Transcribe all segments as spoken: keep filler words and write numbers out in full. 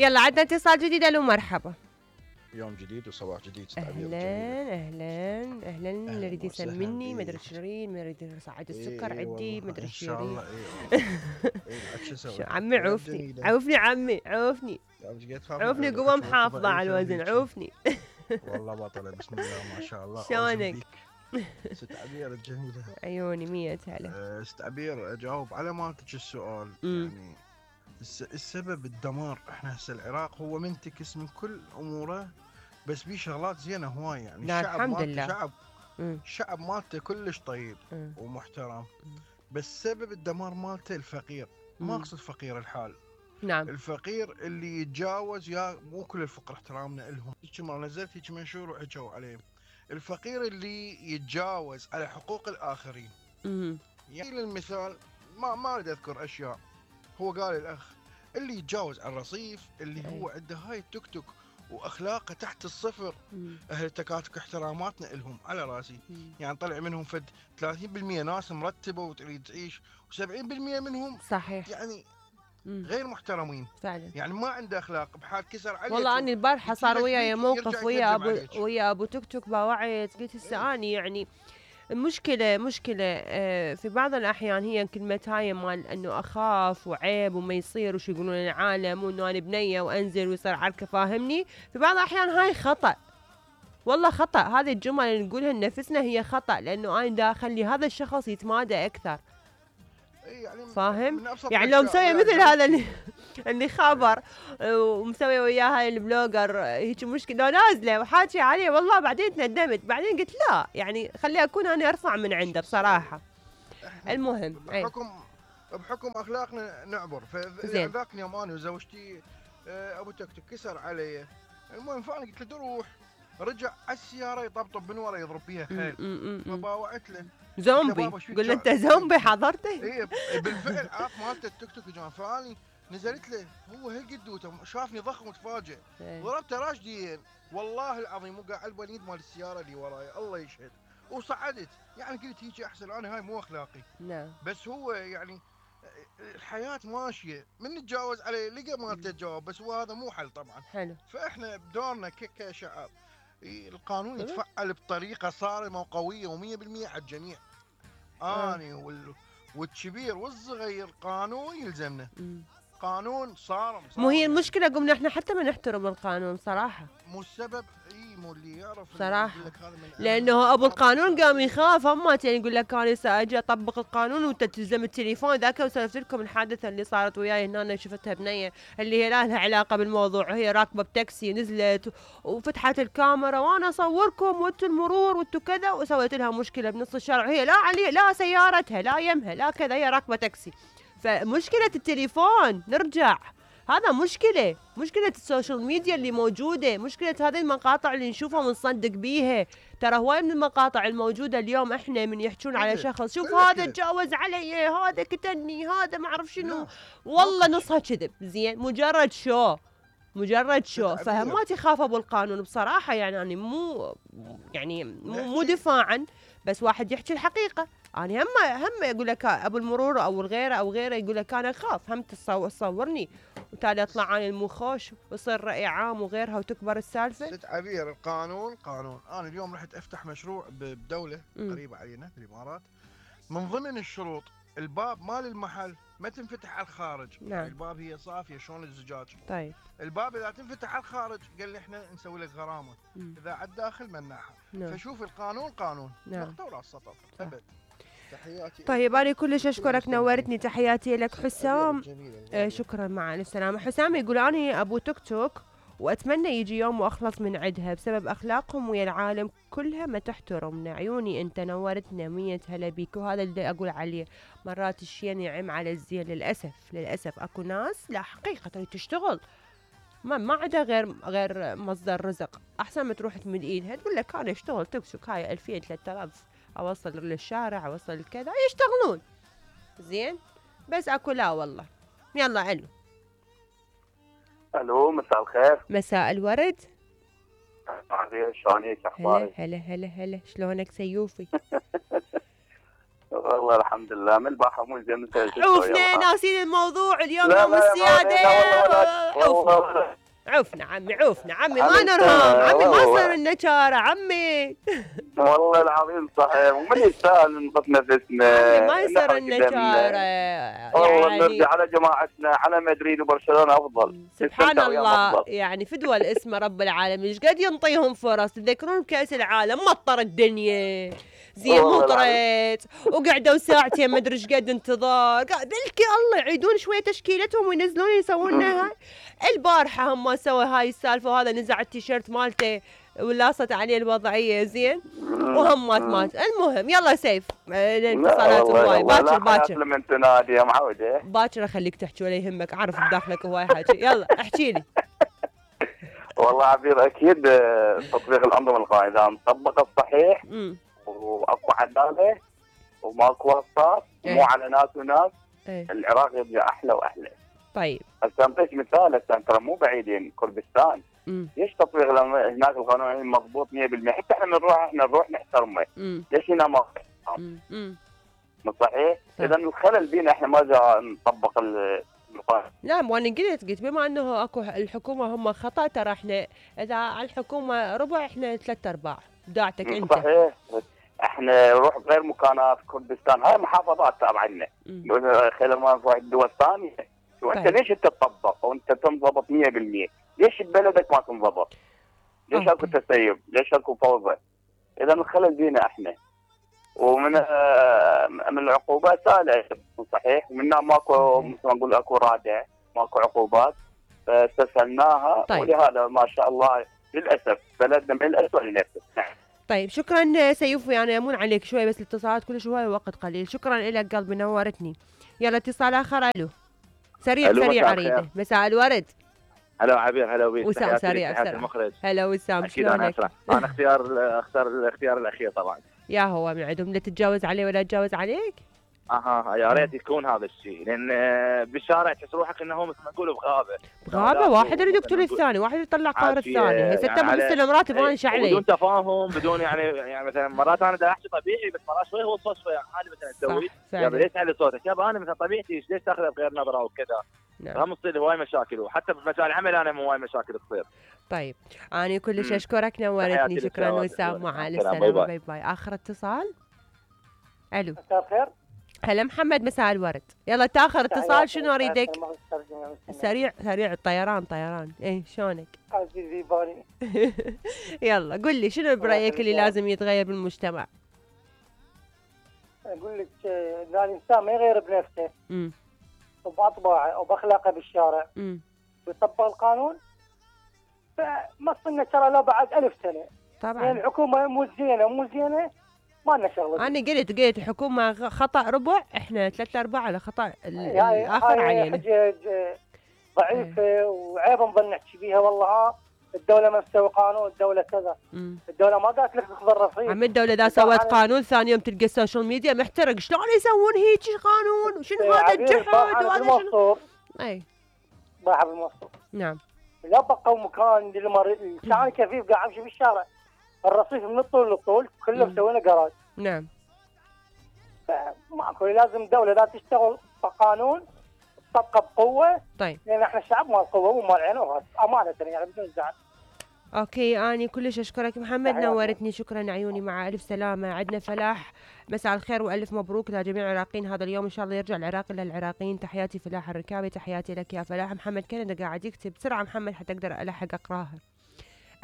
يلا عندنا اتصال جديد. الو مرحبا. يوم جديد وصباح جديد. اهلا اهلا اهلا. اللي يريد يسمني مدري شيرين، من يريد يصعد السكر إيه عندي مدري ان شاء شيرين. الله. اي والله شو عمي عوفني عوفني عمي عوفني عوفني قوة محافظة على الوزن عوفني. والله بطلة بسم الله ما شاء الله. شلونك؟ ست عبير الجميلة. عيوني مية هلا. ست عبير اجاوب على مالتك السؤال. م. يعني السبب الدمار. احنا هسه العراق هو منتكس من كل اموره، بس بيه شغلات زينه هواي. يعني الشعب الحمد لله شعب م. الشعب مالته كلش طيب م. ومحترم م. بس سبب الدمار مالته الفقير. ما اقصد فقير الحال، نعم الفقير اللي يتجاوز. يا مو كل الفقراء احترامنا لهم. هيك مره نزلت هيك منشور وحكوا عليه الفقير اللي يتجاوز على حقوق الاخرين. م. يعني للمثال ما ما اريد اذكر اشياء، هو قال الاخ اللي يتجاوز على الرصيف اللي هو عنده هاي التوك توك واخلاقه تحت الصفر. مم. اهل التكاتك احتراماتنا لهم على راسي. مم. يعني طلع منهم فد ثلاثين بالمئة ناس مرتبه وتريد تعيش، وسبعين بالمئة منهم صحيح يعني مم. غير محترمين فعلا. يعني ما عنده اخلاق. بحال كسر عليك. والله اني البارحه صار وياي موقف ويا ابو ويا ابو توك توك باوعيت قلت هسه اني يعني المشكلة مشكلة في بعض الأحيان هي كلمة هاي مال أنه أخاف وعيب وما يصير وش يقولون العالم وأنه أنا بنية وأنزل ويصير عركة. فاهمني؟ في بعض الأحيان هاي خطأ، والله خطأ. هذه الجمل اللي نقولها لنفسنا هي خطأ، لأنه أنا دا أخلي هذا الشخص يتمادى أكثر. يعني فاهم؟ يعني لو مسوي مثل هذا اللي اللي خبر ومسوي وياه هاي البلوجر هيك مشكلة، لو نازله وحاكي عليه والله بعدين تندمت، بعدين قلت لا يعني خلي اكون انا ارفع من عنده بصراحه. المهم بحكم بحكم اخلاقنا نعبر. فذاك يوم انا وزوجتي ابو توك توك كسر علي. المهم فانا قلت له روح، رجع على السياره يطبطب من ورا يضرب فيها حيل. فباوعت له زومبي. قل له انت زومبي حضرته. اي بالفعل عاف مالته التوك توك يا جماعه. فاني نزلت له هو هالقد شافني ضخم وتفاجئ، ضربته راشدين والله العظيم. وقع على البنيد مال السياره اللي وراي الله يشهد، وصعدت. يعني قلت هيك احسن، انا هاي مو اخلاقي. نعم. بس هو يعني الحياه ماشيه، من نتجاوز عليه لقى مالته تجاوب، بس هو هذا مو حل طبعا. حلو. فاحنا بدورنا كشعب القانون يتفعل بطريقه صارمه وقويه ومية بالمية على الجميع. اني وال... والكبير والصغير قانون يلزمنا. م. قانون صارم, صارم. مو هي المشكله قمنا احنا حتى ما نحترم القانون صراحه. مو السبب اي مو اللي يعرف صراحه، لانه ابو القانون قام يخاف. اما يعني يقول لك انا ساجي اطبق القانون وتلزم التليفون. ذاك وسولفت لكم الحادثه اللي صارت وياي هنا، أنا شفتها بنيه اللي هي لا لها علاقه بالموضوع، وهي راكبه بتاكسي نزلت وفتحت الكاميرا وانا اصوركم وانتم المرور وانتم كذا، وسويت لها مشكله بنص الشارع. وهي لا علي لا سيارتها لا يمها لا كذا، هي راكبه تاكسي. فمشكله التليفون نرجع، هذا مشكلة. مشكلة السوشيال ميديا اللي موجودة، مشكلة هذه المقاطع اللي نشوفها ونصدق بيها. ترى هواي من المقاطع الموجودة اليوم احنا من يحجون على شخص شوف هذا تجاوز علي، هذا كتني، هذا ما اعرف شنو، والله نصها كذب. زين مجرد شو مجرد شو فهم. تخاف ابو القانون بصراحة. يعني أنا مو يعني مو, مو دفاعا، بس واحد يحكي الحقيقة. أنا هم هم يقول لك أبو المرور أو الغيره أو غيره يقول لك أنا أخاف هم تصورني وتالي أطلع عن المخوش ويصير رأي عام وغيرها وتكبر السالفة. ست عبير القانون قانون. أنا اليوم رحت أفتح مشروع بدولة م. قريبة علينا في الإمارات. من ضمن الشروط الباب مال المحل ما تنفتح على الخارج. نعم. الباب هي صافية شلون الزجاج. طيب الباب إذا تنفتح على الخارج قال لي إحنا نسوي لك غرامة. م. إذا على الداخل مناحة. نعم. فشوف القانون قانون. نعم. نقطة وراس سطر. أبد. تحياتي. طيب أنا كلش أشكرك، نورتني. تحياتي لك حسام. آه شكرا مع السلامة. حسام يقول أنا أبو توك توك وأتمنى يجي يوم وأخلص من عدها بسبب أخلاقهم ويا العالم كلها ما تحترمنا. عيوني أنت نورتنا مية هلا بيك. وهذا اللي أقول عليه، مرات الشيء ينعم على الزين. للأسف للأسف أكو ناس لا حقيقة تريد تشتغل ما ما عندها غير غير مصدر رزق. أحسن ما تروح تمد إيدها تقول لك أنا أشتغل توك توك هاي ألفين ثلاثة آلاف اوصل للشارع اوصل كذا، يشتغلون زين. بس اكو لا والله. يلا الو الو مساء الخير. مساء الورد. شلونك اخبارك؟ هلا هلا هلا هلا شلونك سيوفي؟ والله الحمد لله من البارحة مو زين. عوفنا ناسين الموضوع اليوم لا يوم لا السيادة. لا لا عوفنا والله عوفنا عمي عوفنا عمي ما عمي نرهام عمي ما والله. صار النشارة عمي. والله العظيم صحيح ومن يستاهل نقف نفسنا. عمي ما يصير نحرق النشارة دمنا. والله يعني نرجع على جماعتنا على مدريد وبرشلونة أفضل. سبحان نستمتع وياهم الله أفضل. يعني فدوى الاسم رب العالمين ايش قد ينطيهم فرص. تذكرون بكأس العالم مطر الدنيا زين والله مطرت وقعدوا ساعتين ما ادري ايش قد انتظار قا- بلكي الله يعيدون شويه تشكيلتهم وينزلون يسوون لنا هاي. البارحه هم سووا هاي السالفه وهذا نزع التيشيرت مالته ولاصت عليه الوضعيه زين وهم مات مات. المهم يلا سيف الاتصالات هواي باكر باكر لمن تنادي يا معودة. باكر اخليك تحكي ولا يهمك اعرف بداخلك هواي حاجه. يلا احكي لي. والله عبير اكيد تطبيق الانظمه القائمه اذا طبق الصحيح امم واكو عداله وماكو وسطات إيه. مو على ناس وناس ايه العراق يرجع احلى واحلى. طيب هسه انطيك مثال هسه ترى مو بعيدين كردستان امم ليش تطبيق الأم- هناك القانون مضبوط مية بالمية حتى احنا بنروح احنا نروح نحترمه امم ليش هنا ما امم مو صحيح؟ صح. اذا الخلل بينا احنا ما جا نطبق ال- القانون. نعم وانا قلت قلت بما انه اكو الحكومه هم خطا ترى احنا اذا على الحكومه ربع احنا ثلاث ارباع داعتك مو انت. صحيح احنا نروح غير مكانات كردستان هاي محافظات تابعة لنا مم. خلال ما نروح الدول الثانيه وانت طيب. ليش انت تطبق وانت تنضبط مية بالمية ليش ببلدك ما تنضبط؟ ليش اكو أوكي. تسيب؟ ليش اكو فوضى؟ اذا الخلل بينا احنا ومن آه، من العقوبات سهله صحيح ومنها ماكو مثل ما نقول اكو رادع ماكو عقوبات فاستسهلناها. طيب. ولهذا ما شاء الله للاسف بلدنا من الاسوء لنفسه. نعم. طيب شكرا سيوف يعني امون عليك شوي بس الاتصالات كل شوي وقت قليل. شكرا لك قلبي نورتني. يلا اتصال اخر. الو سريع ألو، سريع مساء اريده. الخير. مساء الورد. هلا عبير هلا بيك. وسام تحياتي سريع لك، تحياتي بسرعة. المخرج. هلا وسام اكيد انا شلونك؟ اسرع. انا اختيار اختار الاختيار الاخير طبعا. يا هو من عندهم لا تتجاوز عليه ولا تتجاوز عليك. اها يا ريت يكون هذا الشيء لان آه، بالشارع تحس روحك انه مثل ما نقول بغابه. بغابه لا، واحد يريد مثل يقتل ما نقول الثاني واحد يطلع قهر عاد في، الثاني. هسه يعني انت على- بتستلم راتب إيه، وانا ايش علي؟ بدون تفاهم بدون يعني يعني مثلا مرات انا دا احكي طبيعي بس مرات شوي هو الصوت شوي عالي مثلا تسوي صح يا فعلا. ليش تعلي صوتك يابا انا مثلا طبيعتي ليش تاخذها بغير نظره وكذا. نعم. فهم تصير هواي مشاكل وحتى بمجال العمل انا هواي مشاكل تصير. طيب أنا كلش مم. أشكرك نورتني. تحياتي شكرا لك يا وسام ولد. مع سلام، السلامة. باي باي. باي باي. آخر اتصال. ألو مساء الخير. هلا محمد مساء الورد. يلا تاخر اتصال شنو أريدك؟ سريع سريع الطيران طيران إيه شلونك؟ عزيزي باني يلا قل لي شنو برأيك اللي لازم يتغير بالمجتمع؟ اقول لك آه، ان الانسان ما يغير بنفسه امم وباطباعه او باخلاقه بالشارع امم ويطبق القانون فما صرنا ترى لو بعد ألف سنه لان طبعا. الحكومه مو زينه مو زينه ما لنا شغله. أنا قلت قلت الحكومة غ- خطأ ربع إحنا ثلاثة أرباع على خطأ ال- يعني الآخر هاي علينا. حجج آه، ضعيفه وعيب نظل نحكي بيها والله ها الدوله ما تسوي قانون الدوله كذا مم. الدوله ما قالت لك تاخذ الرصيد. عم الدولة إذا طبعاً. سوت قانون ثاني يوم تلقى السوشيال ميديا محترق شلون يسوون هيك قانون وشنو آه، هذا عبير الجحد باعها وهذا شنو. بالموصوف أي باعها بالموصوف نعم. لا بقوا مكان للمريض كان كفيف قاعد امشي بالشارع الرصيف من الطول للطول كله مم. مسوينا جراج. نعم ماكو لازم دوله لا تشتغل بقانون تطبقه بقوه طيب لان احنا الشعب مال قوه مو مال عين وراس امانه يعني بدون زعل. اوكي اني كلش اشكرك محمد تحياتي. نورتني. شكرا عيوني مع الف سلامه. عندنا فلاح مساء الخير والف مبروك لجميع العراقيين هذا اليوم ان شاء الله يرجع العراق للعراقيين. تحياتي فلاح الركابي. تحياتي لك يا فلاح. محمد كندا قاعد يكتب بسرعه محمد حتى اقدر الحق اقراها.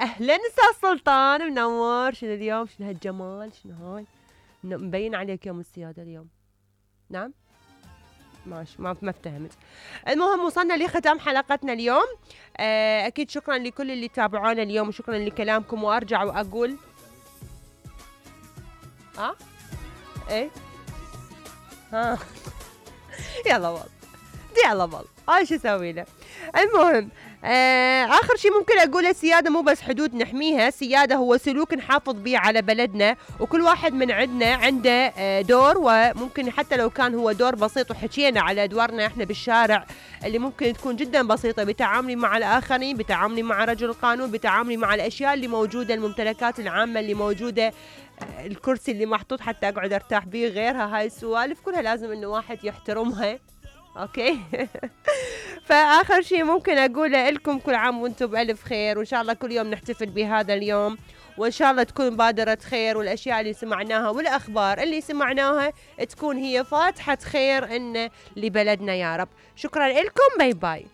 اهلا استاذ سلطان منور. شنو اليوم شنو هالجمال شنو هاي ن- مبين عليك يوم السياده اليوم. نعم ماشي ما ما افتهمت. المهم وصلنا لختام حلقتنا اليوم. آه، اكيد شكرا لكل اللي تابعونا اليوم وشكرا لكلامكم. وارجع واقول ها ايه ها يلا والله تضيع لبل، هاي شو اسوي له. المهم آه اخر شيء ممكن اقوله، السياده مو بس حدود نحميها، السياده هو سلوك نحافظ به على بلدنا، وكل واحد من عندنا عنده آه دور، وممكن حتى لو كان هو دور بسيط، وحكينا على ادوارنا احنا بالشارع اللي ممكن تكون جدا بسيطه، بتعاملي مع الاخرين، بتعاملي مع رجل القانون، بتعاملي مع الاشياء اللي موجوده، الممتلكات العامه اللي موجوده، الكرسي اللي محطوط حتى اقعد ارتاح به، غيرها هاي السوالف كلها لازم انه واحد يحترمها. اوكي. فاخر شيء ممكن اقوله لكم، كل عام وانتم بالف خير، وان شاء الله كل يوم نحتفل بهذا اليوم، وان شاء الله تكون بادرة خير، والاشياء اللي سمعناها والاخبار اللي سمعناها تكون هي فاتحة خير ان لبلدنا يا رب. شكرا لكم، باي باي.